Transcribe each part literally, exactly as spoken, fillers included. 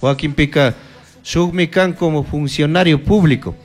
Wakinpika shukmi kan como funcionario público,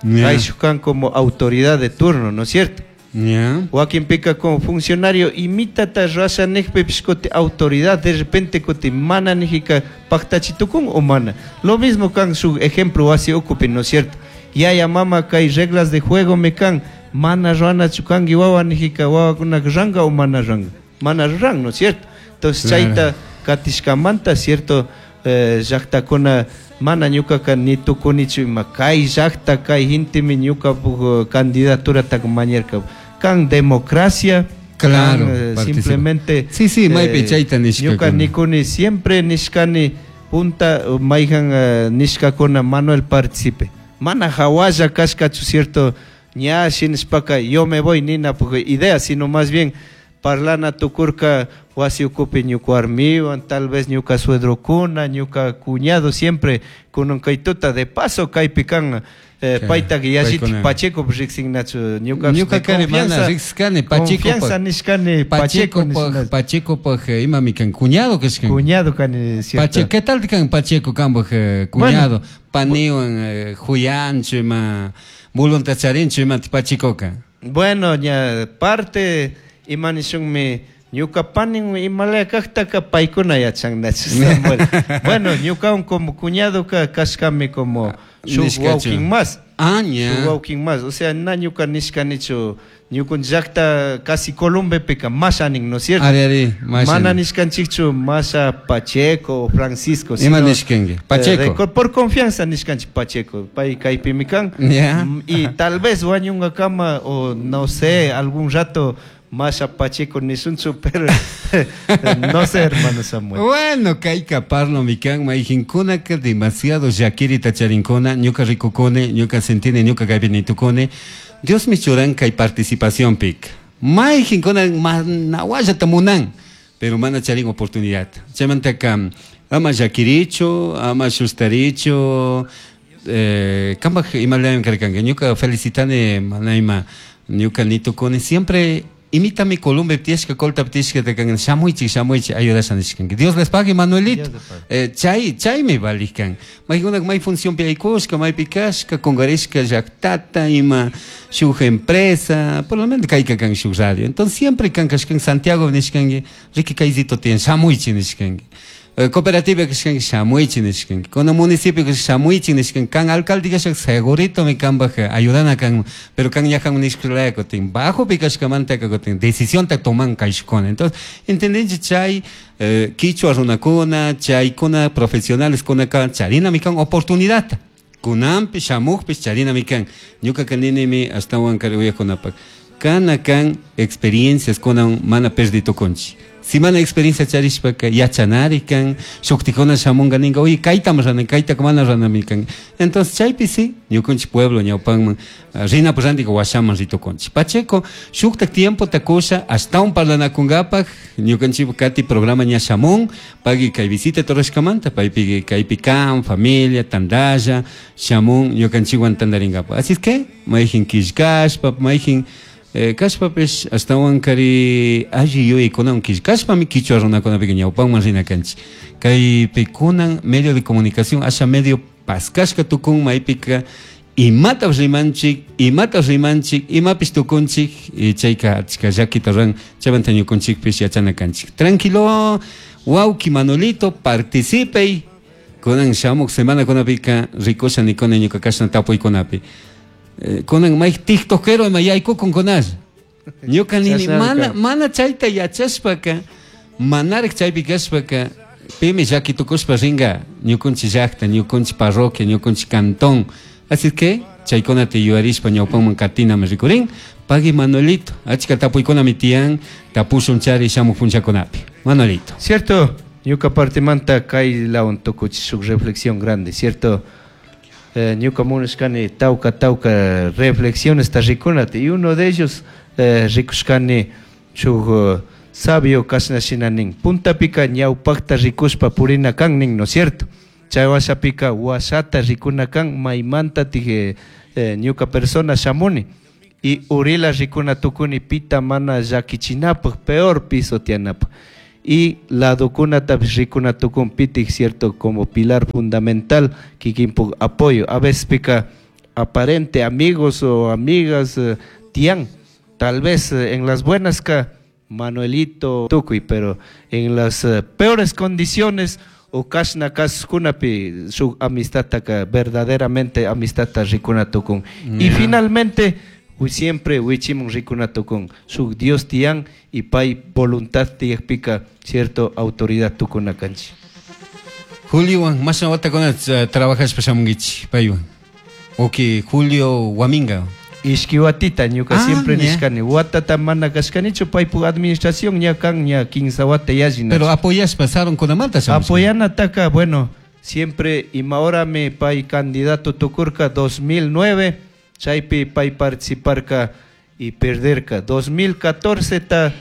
Yeah. kayshuk kan como autoridad de turno, ¿no es cierto? Yeah. Wakinpika como funcionario imitata rurasha nijpipish kuti autoridad de repente kuti mana nijika paktachitukun o mana. Lo mismo kan shuk ejemplo wasi ukupi, ¿no es cierto? Yaya mama kay reglas de juego me kan mana ruwanachu kanki wawa nijika wawakunaka ranga o mana ranga. Mana ruran, ¿no es cierto? Entonces Claro. chayta katishkamanta, cierto, eh, llaktakuna mana ñukaka ni tukunichu ima kay llakta kay gentemi ñukapuk candidaturataka mañarka. Kan democracia, Claro, kan, eh, participa. simplemente Sí, sí, maypi chayta nishkakuna. ñuka nikuni siempre nishkani punta mayjan eh, nishkakuna Manuel participe. Mana hawalla kashkachu, cierto, ña shinashpaka yo me voy nina porque idea, sino más bien parlana tukurka wasi ukupi ñuka warmiwan, tal vez ñuka suedrokuna, ñuka cuñado siempre kunan kaytuta de paso kaypi kan eh, Claro, paytaka yallitik paykuna. Pacheco riqsinnachu ñuka Ñuka de kani mana confianza, riqsikani Pacheco confianza nishkani Pacheco Pacheco nishkani. Pacheco imami kan cuñado kashkan. Cuñado kani, cierto. Pacheco, ¿qué tal kan Pacheco kanpaj eh, cuñado? Paniwan eh, huyanchu ima voluntad charinchu ima Pachecoka. Bueno, ña parte ima nishunmi ñuka panin imalaya kajtaka paykuna yachannachu, Samuel. Bueno, ñukawan como cuñado ka kashkami como shuk Nishkachu. wawkin más. Ah, ña. Shuk wawkin más. O sea, na ñuka nishkanichu ñukun llakta casi Colombepika masha nin, ¿no es cierto? Ari, ari, masha Mana nin. nishkanchikchu masha Pacheco o Francisco. Ima sino, nishkanki? Pacheco. eh, de- por confianza nishkanchik Pacheco. Pay kaypimi kan. Ya. Mm, Y tal vez wañunkakama o no sé, algún rato masha Pacheco nishunchu, pero no sé, hermano Samuel. Bueno, kayka parlomi kan mayqinkunaka demasiado llakirita charinkuna, ñuka rikukuni, ñuka sentini, ñuka kaypi nitukuni. Diosmi churan kay participacionpik. Mayqinkuna mana wallata munan, pero mana charin oportunidad. Chaymantaka ama llakirichu, ama shustarichu, eh, kanpaj imalayami karkanki. Ñuka felicitani mana ima ñuka nitukuni siempre imitami Colombia tiyashka, Colta tiyashka kan shamuychik, shamuychik, ayudasha nishkanki. Dios les pague, Manuelito. Dios les pague. Eh, chay, chaymi valij Maykunak may funcionpi aykushka, maypi kashka, kungarishka llaktata, ima shuk empresa, por lo menos kayka kan shuk radio. Entonces siempre kan kashkan Santiago nishkanki, riki kaysito tiyan, shamuychik nishkanki. Eh, cooperativa kashkanki shamuychik nishkanki. Kuna municipio kashkanki shamuychik nishkanki. Kan alcalde kashka segurito mi kanpaj ayudana kan, pero kan ñajan nishkalaya kutin, bajopi kashkamanta kutin, decisionta toman kayshukuna. Entonces, entendinchik chay eh, kichwa runakuna, chaykuna profesionales kunaka charinami kan oportunidad. Kunanpi shamukpish charinami kan. Ñukaka ninimi ashtawan kari uyakunapak. Kana kan experiencias kunan mana perdi tukunchik. Si mana experiencia charishpaka yachanari kan, shuktikuna shamunga ninga, oye, kaytam rana, kaytaka mana ranami kan. Entonces chaypi sí, ñukanchik pueblo ñawpanman, ah, rinapak rantika washaman ritukunchik. Pacheco, shuktak tiempo takusha, ashtawan parlanakunkapaj, ñukanchik kati programa ña shamun, pagui kay visita torreshkamanta, paypi kaypi kan, familia, tandalla, shamun, ñukanchikwan tandarinkapaj. Así es que, mayjin killkashpa, mayjin Eh, kashpapish ashtawan kari alli yuyaykunawan killkashpami kichwa runakunapika ñawpanman rina kanchik. Kaypi kunan medio de comunicación asha medio paskashka tukun maypika imatapish rimanchik, imatapish rimanchik, imapish tukunchik, y chayka achka llakita ruran, chaymanta ñukunchikpish yachana kanchik. Tranquilo, wawki Manuelito, participey. Kunan shamuk semana kunapika rikusha nikuni ñuka kashna tapuykunapi. Eh, kunan may tiktokero ima yaykukun kunash. Ñuka nini Chashnami mana, kan. mana chayta yachashpaka, manarik chaypi kashpaka, pimi llaki tukushpa ringa ñukunchik llakta, ñukunchik parroquia, ñukunchik cantón. Así que chaykunata yuyarishpa ñawpanman katinami rikurin. Pagui Manuelito, achka tapuykunami tiyan, tapushun chari shamuk punchakunapi. Manuelito. Cierto, ñuka partimanta kay lawan tukuchi shuk reflexión grande, cierto. Eh, ñuka munashkani tawka tawka reflexiones ta rikunata, y uno de ellos, eh, rikushkani shuk, eh, sabio kashna shina nin, puntapika ñawpakta rikushpa purina kan nin, ¿no es cierto? Chay washapika washata rikuna kan maymanta tije, eh, ñuka persona shamuni y urila rikuna tukuni pita mana llakichinapaj, peor piso tianapaj. Y ladokunatapish rikuna tukun pitik, cierto, como pilar fundamental kikinpuk apoyo. A veces pica aparente amigos o amigas eh, tian, tal vez eh, en las buenas ka Manuelito tukuy, pero en las eh, peores condiciones o kashna kaskunapi su amistad ka verdaderamente amistad rikuna tukun. Y finalmente siempre wichimun rikuna tukun su Dios tian y pay voluntad tiyakpika cierto autoridad tukuna kanchi. Julio, mashna watakuna trabajashpa shamunkichik paywan. Oki Julio Guaminga. Ishki watita ñuka ah, siempre nishkani watata mana kashkanichu paypuk administración ña kan ña kinsa wata yallina. Pero apoyashpa sarunkunamanta shamushka. Apoyanataka, bueno, siempre ima horami pay candidato tukurka dos mil nueve, chaypi pay participarka y perderka. dos mil catorce ta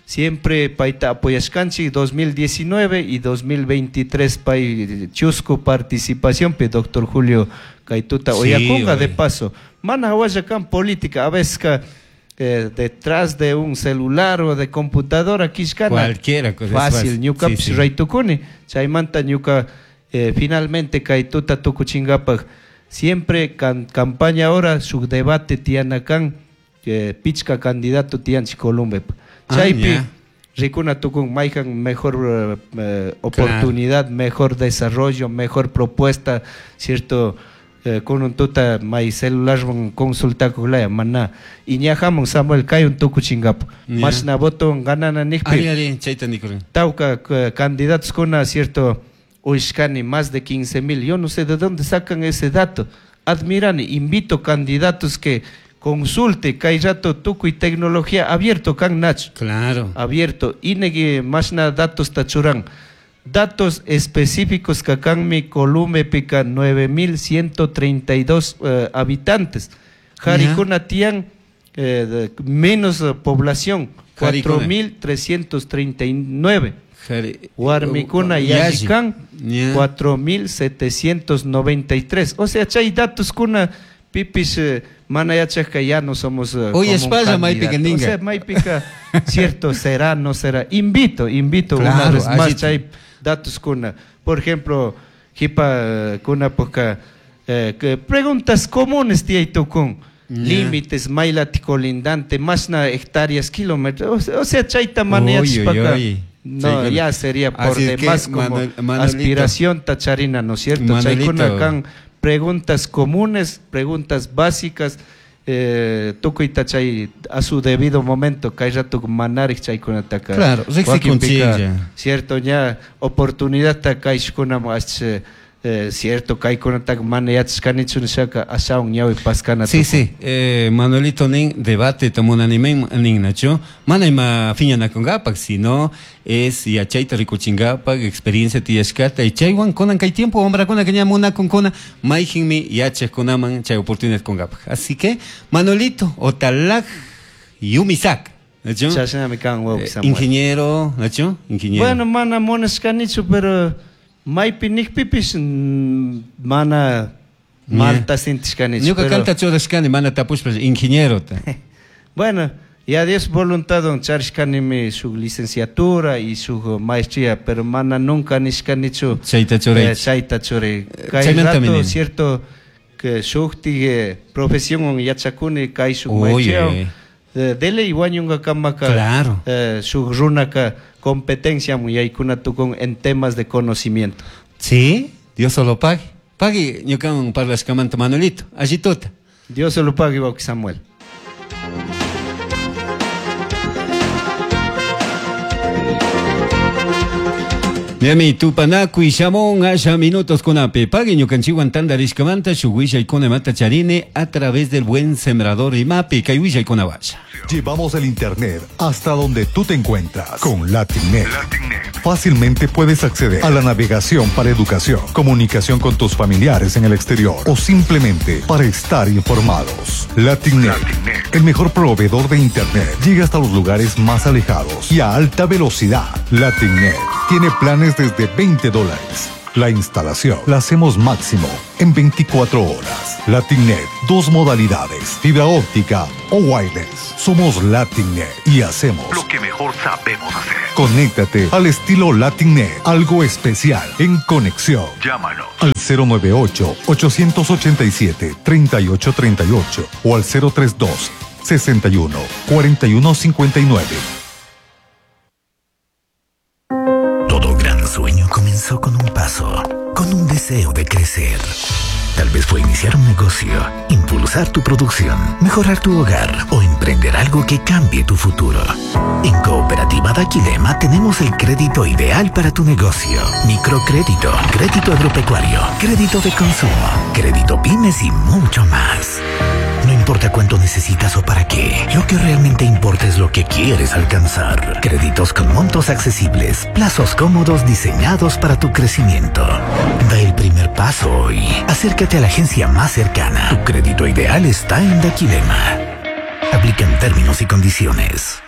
siempre payta apoyashkanchik, dos mil diecinueve y dos mil veintitrés pay chusku participación pe doctor Julio Kaytuta sí, oyakunga de paso. Mana hawalla kan política, a veces ka, eh, detrás de un celular o de computadora kishkana. Cualquiera cosa fácil, ñuka sí, sí. Raytukuni, chaymanta ñuka eh, finalmente Kaytuta tukuchingapak siempre can, campaña ahora su debate tiana kan eh, pichka candidato tianchi Columbe. Chaypi ah, rikuna tukun mayjan mejor eh, oportunidad, claro. Mejor desarrollo, mejor propuesta, cierto. Eh, con un tuta may celular consulta kulaya mana y ñajamun Samuel kay un tukuchingapu mashna voto ganana nijpi ari ari chayta nikurin tawka candidatos kuna cierto uishkani más de quince mil, yo no sé de dónde sacan ese dato, admirani, invito candidatos que consulte kay rato tukuy tecnología abierto kan nach, claro, abierto inegi mashna datos tachuran. Datos específicos kakanmi Columbe pica nueve mil ciento treinta y dos eh, habitantes. Jaricuna tian eh, menos eh, población, cuatro mil trescientos treinta y nueve. Huarmicuna y Yallicán, cuatro mil setecientos noventa y tres. O sea, chay datos kuna pipis eh, mana yachajka ya no somos eh, oye, espalda, maypica ninga. O sea, maypica, cierto, será, no será. Invito, invito claro, una vez más, chay datos kuna. Por ejemplo, jipa kuna poca eh, que preguntas comunes tía y tukun. Límites, mailati colindante, masna hectáreas, kilómetros. O sea, chayta mana yachpaka. No, ya sería por así demás como Manuel, aspiración tacharina, ¿no es cierto? Chaykuna kan preguntas comunes, preguntas básicas, eh, tukuy tachay a su debido momento, kay rato manarik chaykunataka. Claro, cierto, ya oportunidad ta kayshkuna ach eh, cierto, kaykunataka mana yachashkanichu nishaka ashawan ñawi paskana. Sí, sí, eh, Manuelito nin debate tomunanimen nin nacho, mana ima fiñanakungapak, sino es yachayta rikuchingapak, experiencia tiyashkata, y chaywan kunan kay tiempo hombrakuna que ña munakunkuna, mayjinmi yachajkunaman chay oportunidad kungapak. Así que, Manuelito, otalaj yumisak. ¿Nacho? Chashnami kan wawqi Samuel. Ingeniero, ¿nacho? Ingeniero. Bueno, mana munashkanichu, pero maypi nijpipis mana malta sintishkanichu. Ñuka kanta churashkani mana tapushpa ingenierota. Bueno, ya Dios voluntad charishkanimi su licenciatura y su maestría, pero mana nunca nishkanichu chayta churay. Eh, chayta churay. Kay rato, cierto, que shukti eh, profesión yachakuni kay su maestría. Eh, dele wañunga kamaka. Claro. Eh, su runaka competencia muyaykuna tukun en temas de conocimiento. Sí, Dios solo pague. Pague ñukawan parlashkamanta Manuelito, allituta. Dios solo pague, wawqi Samuel. Miami tupanakuy shamon asha minutos kunapi pague ñukanchikwan tantarishkamanta shuk willaykunamanta charine a través del buen sembrador imapi kay willaykunawasha. Llevamos el internet hasta donde tú te encuentras con LatinNet. LatinNet. Fácilmente puedes acceder a la navegación para educación, comunicación con tus familiares en el exterior o simplemente para estar informados. LatinNet, LatinNet, el mejor proveedor de internet, llega hasta los lugares más alejados y a alta velocidad. LatinNet tiene planes desde veinte dólares. La instalación la hacemos máximo en veinticuatro horas. LatinNet, dos modalidades, fibra óptica o wireless. Somos LatinNet y hacemos lo que mejor sabemos hacer. Conéctate al estilo LatinNet, algo especial en conexión. Llámanos al cero nueve ocho, ochocientos ochenta y siete, treinta y ocho treinta y ocho o al cero tres dos, sesenta y uno, cuarenta y uno cincuenta y nueve. Todo gran sueño comenzó con un paso, con un deseo de crecer. Tal vez fue iniciar un negocio, impulsar tu producción, mejorar tu hogar o emprender algo que cambie tu futuro. En Cooperativa Daquilema tenemos el crédito ideal para tu negocio. Microcrédito, crédito agropecuario, crédito de consumo, crédito pymes y mucho más. No importa cuánto necesitas o para qué, lo que realmente importa es lo que quieres alcanzar. Créditos con montos accesibles, plazos cómodos diseñados para tu crecimiento. Da el primer paso hoy. Acércate a la agencia más cercana. Tu crédito ideal está en Daquilema. Aplican términos y condiciones.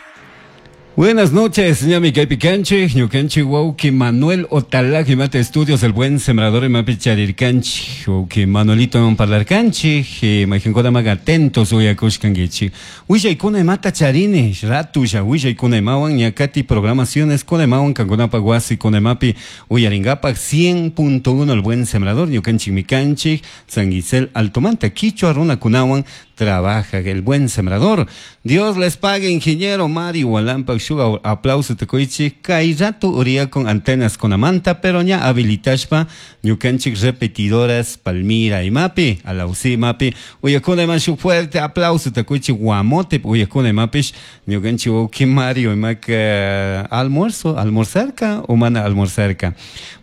Buenas noches, ñami kaypi kanchik, ñukanchik wawqi Manuel Otalaj y mate estudios, el buen sembrador y mapi charirkanchik, wawqi Manuelito man parlarkanchik, mayqinkunata maga atentos uyakushkankichik. Willaykuna imata charini, ratulla willaykuna imawan, ñakati programaciones kuna imawan, kankunapaq wasi kuna imapi uyarinkapak cien punto uno el buen sembrador, ñukanchik mikanchik, San Gisel Altomanta, Quichua runakunawan trabaja el buen sembrador. Dios les pague, ingeniero Mario Walampa, shuga aplauso te koichi, kai rato uría con antenas con amanta, pero ña habilitashpa ñukanchik repetidoras Palmira y Mapi, alausi Mapi, uyakuna iman shu fuerte aplauso te koichi guamote, uyakuna imapish, ñukanchik wauki Mario imak almuerzo, almorzarka o mana almorzarka.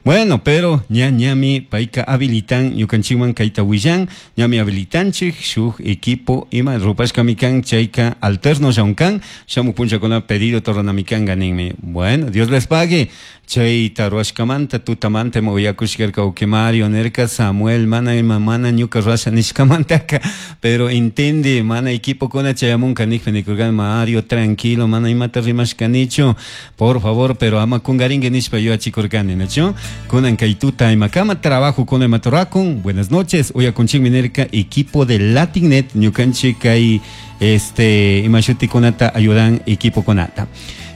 Bueno, pero ña ñami paika habilitan ñukanchikman kaita willan, ñami habilitanchik shuk equipo ima rupashka mikan chayka alterno shaunkan, shamu puncha con pedido tornamikan ganinmi. Bueno, Dios les pague. Chayta ruashkamanta tutamanta moyakushkarka uke Mario nerka Samuel mana ima mana ñuka ruasha nishkamantaka, pero intende mana equipo kuna chayamunka nikpe nikurkan Mario tranquilo mana imata rimashkanichu por favor, pero ama kungaringue nishpa yuachikurkani nachu kunan kay tuta imakama trabajo kuna imatorakun. Buenas noches, uyakunchikmi nerka equipo de LatinNet ñukanchik kay este imashuti kunata ayudan equipo kunata.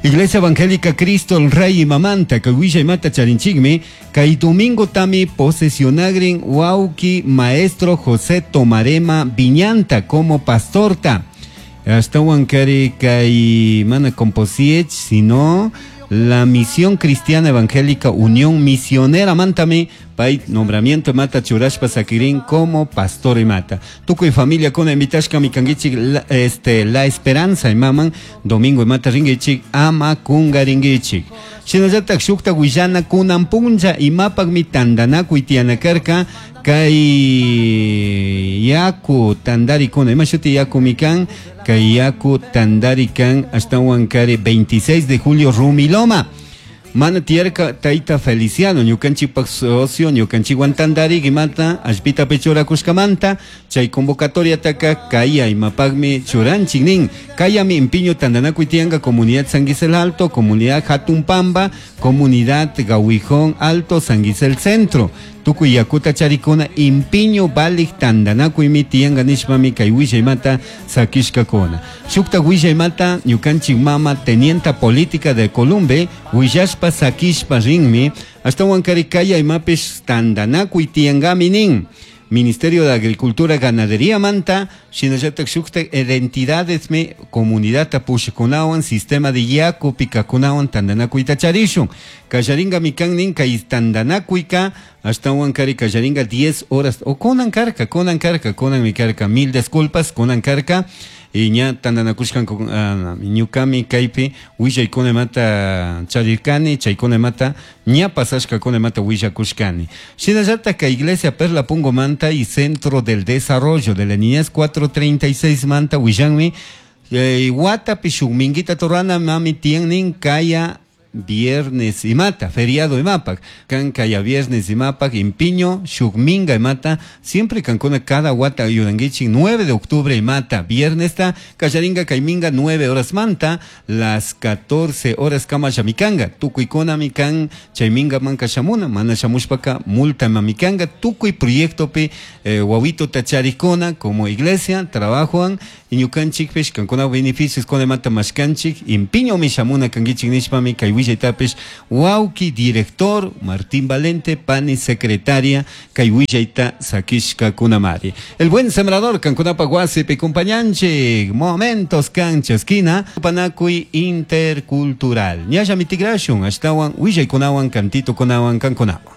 Iglesia Evangélica Cristo el Rey y Mamanta, que huilla y mata charinchigme, kay domingo tami posesionagrin wauki maestro José Tomarema Viñanta como pastorta. Hasta huancari kay mana composiech, sino la Misión Cristiana Evangélica Unión Misionera Mantame, pay nombramiento mata churashpa sakirin como pastor y mata. Tuco y familia con invitashka mi kangichik la, este la esperanza y maman domingo y mata ringichik ama kunga ringichik. Shinallatak shukta willana kunan puncha y mapak mi tandanaku y tianakarka kay yaku tandari kuna ima shuti yaku mikan kay yaku tandari kan hasta huancari veintiséis de julio Rumiloma. Mana tierka taita Feliciano, ñukanchikpak socio, ñukanchikwan tandari imata, ashpita pechora kushkamanta, chay convocatoria taka kaya imapagmi churanchik nin, kaya mi impiño tandanakuy tianga comunidad San Gisel Alto, comunidad Jatumpamba, comunidad Gahuijón Alto, San Gisel Centro. Tukuy yakuta charikuna impiño balik tandanakuymi tianga nishpami kay willaymata sakishkakuna. Shukta willaymata ñukanchik mama tenienta política de Columbe willashpa sakishpa rinmi ashtawan kari kaya imapish tandanakuy tiangami nin. Ministerio de Agricultura Ganadería manta, shinallatak shukta identidades me comunidad tapushakunawan, sistema de yaku pikakunawan tandanakuyta charishun. Kallaringa mikan nin kay tandanakuyka, ashtawan kari kallaringa diez horas, o konan karka, konan karka, konan mi karka, mil disculpas, konan karka. Y ña tandanakushkan uh, ñukami kaypi willaykuna mata charirkani, chaykuna mata ña pasashkakuna mata willakushkani. Shinallatak kay Iglesia Perla Pungo manta y Centro del Desarrollo de la Niñez cuatro treinta y seis manta willanmi eh, watapi shuk minguita torana mami tiannin kaya viernes imata, feriado imapak, kan kaya viernes imapak, impiño, shukminga imata, siempre kankuna cada wata ayudanguichi, nueve de octubre imata, viernes ta, kallaringa kayminga nueve horas manta, las catorce horas kama shamikanga, tukuykuna mikan, chayminga manka shamuna, mana shamushpaka multa mamikanga, tukuy proyectopi, eh, wawito tacharikuna, como iglesia, trabajoan, ñukanchikpish kankuna beneficios con mata mashkanchik, impiño mi shamuna kangichik nishpami kay willaytapish wawki director Martín Valente, pani secretaria kay willayta sakishka kunamari. El buen sembrador kankunapa wasipi compañanchik, momentos kancha esquina, panakuy intercultural. Ñalla mitigrashun, ashtawan willaykunawan kantito kunawan kankunawan.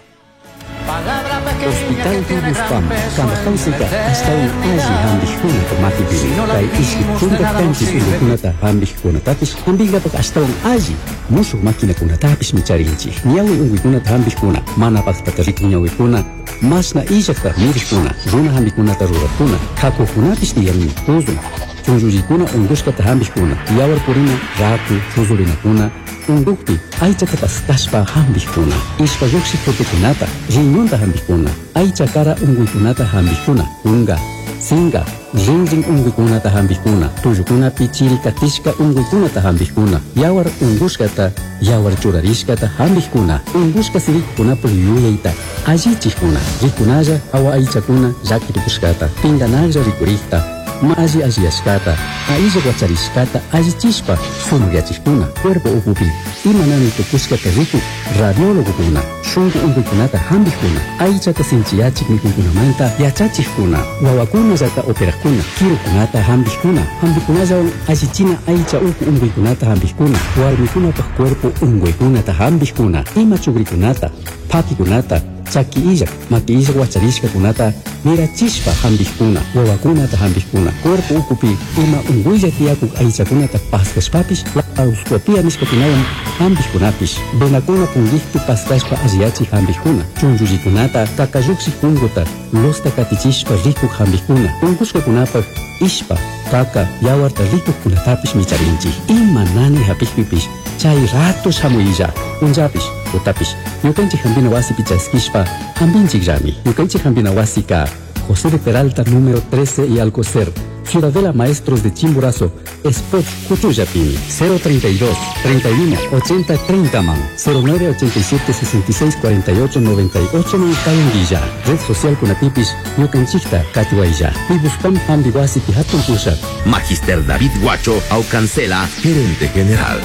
Hospital Robles Pampa, kamajawsika ashtawan alli hampikkunata makipimi, kay ishki chunka kanchis unquykunata hampikkunatapish hampinkapak ashtawan alli mushuq maquinakunatapish micharinchik. Ñawi unquykunata hampikkuna, mana paqtata rikuq ñawikuna, mashna illaqta murikkuna, runa hampikunata rurakkuna, hakuqkunapish tiyanmi, tuzun, chunllullikuna unqushkata hampikkuna, yawar purina, raku, chuzurinakuna, unqukpi aychata paskashpa hampikkuna, ishpa lluqshiq tutukunata, riñonta hampikkuna, aycha kara unquykunata hampikkuna, kunka, sinka, rinrin unquykunata hampikkuna, tullukunapi chiri katishka unquykunata hampikkuna, yawar unqushkata, yawar churarishkata hampikkuna, unqushka sirikukunapaq yuyayta allichikkuna, rikunalla hawa aychakuna llakitukushkata, pinkanaklla rikurikta, ma alli alliyashkata, ailla wacharishkata allichishpa sumakyachikuna, cuerpo ukupi imanami tukushkata rikuk radiólogokuna, shunku unquykunata hampikkuna, aychata sinchiyachik mikuykunamanta yachachikkuna, wawakunallata operaqkuna, kirukunata hampikkuna, hampikunallawan allichina aycha uku unquykunata hampikkuna, warmikunapaq cuerpo unquykunata hampikkuna, ima chukrikunata, pakikunata, chaki illak, maki illak wacharishkakunata mirachishpa hampikkuna, wawakunata hampikkuna, cuerpo ukupi ima unquylla tiyakuk aychakunata paskashpapish laparoscopia nishkakunawan hampikkunapish, venakuna punkikpi paskashpa alliyachik hampikkuna, chunllullikunata kakalluqshik punkuta losta katichishpa rikuk hampikkuna, unqushkakunapaq ishpa, kaka, yawarta rikukkunatapish micharinchik. Ima nani hapikpipish chay rato shamuylla, punllapish, tutapish, ñukanchik hampina wasipi chaskishpa hampinchikllami. Ñukanchik hampina wasika José de Peralta número trece y Alcocer, Ciudadela Maestros de Chimborazo, Spot Cuchuyapini, cero treinta y dos, treinta y uno, ochenta, treinta man, cero nueve ochenta y siete, sesenta y seis, cuarenta y ocho, noventa y ocho man Cayanguilla, Red Social Kunatipis, Ñukanchikta, Catihuaylla, Pibuspam Hambiwasi Pihatun Pusha. Magister David Guacho Aucancela, gerente general.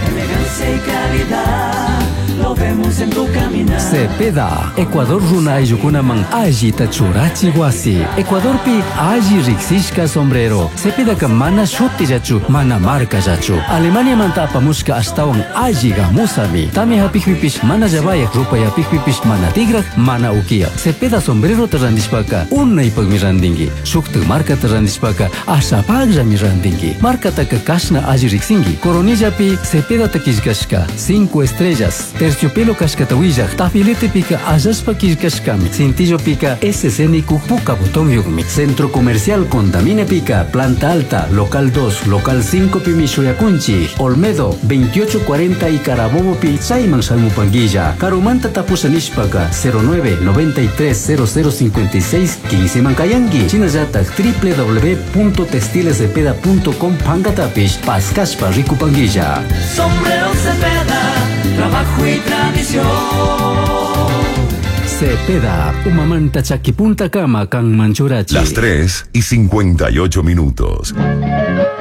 Elegancia y calidad, lo vemos en tu caminar. Cepeda, Ecuador runa ayukunaman allita churachi wasi. Ecuadorpi alli riksishka sombrero. Cepedaka mana shutillachu, mana markallachu. Alemania manta apamushka ashtawan alli gamusami. Tami hapikpipish mana llavayak, rupayapikpipish mana tigrak, mana ukiya. Cepeda sombrero ta randishpaka unaypakmi randinki. Shuktak markata randishpaka ashapakllami randinki. Markataka kashna alli riksinki. Coronillapi Cepeda killkashka, cinco estrellas. Terciopelo kashkata willaq, tafiletepika allashpa killkashkami, cintillopika S C nikuk puka botón yukmi. Centro Comercial Contamina Pica, Planta Alta, Local dos, Local cinco pimi shuyakunchi, Olmedo, veintiocho cuarenta y Carabobo pi chayman shamupanguilla, Karumanta tapusa nishpaka, cero nueve noventa y tres cero cero cincuenta y seis quince mankayangi, Chinallatak w w w punto textilescepeda punto com pankatapish, paskashpa rikupanguilla. Sombrero Cepeda, trabajo y tradición. Cepeda, Umamanta Chaquipunta Kama, Kan Manchurachi. Las tres y cincuenta y ocho minutos.